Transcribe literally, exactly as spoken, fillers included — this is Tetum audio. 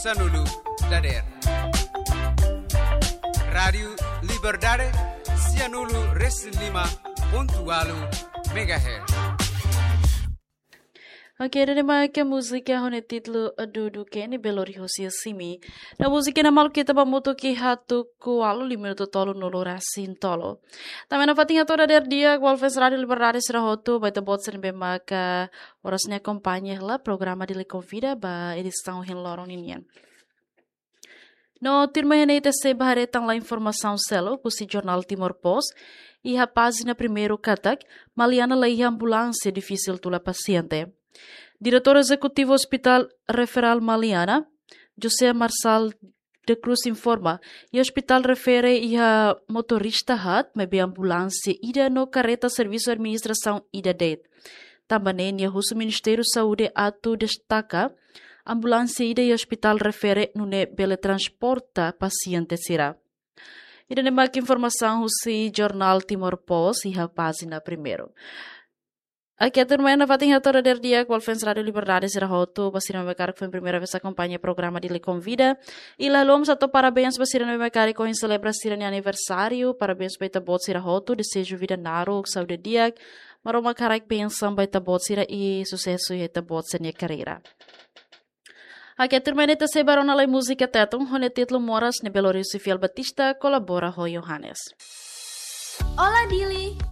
Sanulu dader. Rádiu Liberdade, sianulu resin lima pontu ualu megahertz. Oke, ida-ne'e mak múzika ho nia títulu Dudu Kenny Belori Hosia Simi. No múzika ne'e maluk ita ba hamutuk iha tuku ualu lima minutu tolunulu resin tolu. Tanba ne'e fatin hato'o dader di'ak ba fans Rádiu Liberdade sira hotu, ba ita-boot sira ne'ebé maka oras ne'e akompaña hela programa Dili Konvida ba edisaun ohin loron ninian. No tuirmai ne'e ita sei ba haree tan la informasaun seluk husi jornál Timor Post, iha pájina primeiru katak, Maliana la iha ambulánsia difisil tula pasiente. Diretór Ezekutivu Hospital Referál Maliana, José Marçal da Cruz informa, iha ospitál refere iha motorista haat, maibé ambulánsia ida no kareta servisu administrasaun ida de'it. Tanba ne'e nia husu Ministériu Saúde atu destaka ambulánsia ida iha ospitál refere nune'e bele transporta pasiente sira. Ida-ne'e mak informasaun husi jornál Timor Post iha pájina primeiru. Oke, tuirmai ne'e fatin hato'o dader di'ak ba fans Rádiu Liberdade sira hotu, ba sira ne'ebé karik foin primeira vez akompaña programa Dili Konvida. I la haluha mós hato'o parabéns ba sira ne'ebé karik ohin selebra sira-nia aniversáriu, parabéns ba ita-boot sira hotu, dezeja vida naruk, saúde di'ak, Maromak haraik bensaun ba ita-boot sira i susesu iha ita-boot sira-nia karreira. Oke, tuirmai ne'e ita sei ba rona lai múzika Tetun, ho nia títulu Moras ne'ebé Lourenço Fiel Batista kolabora ho Johannes. Olá, Dili!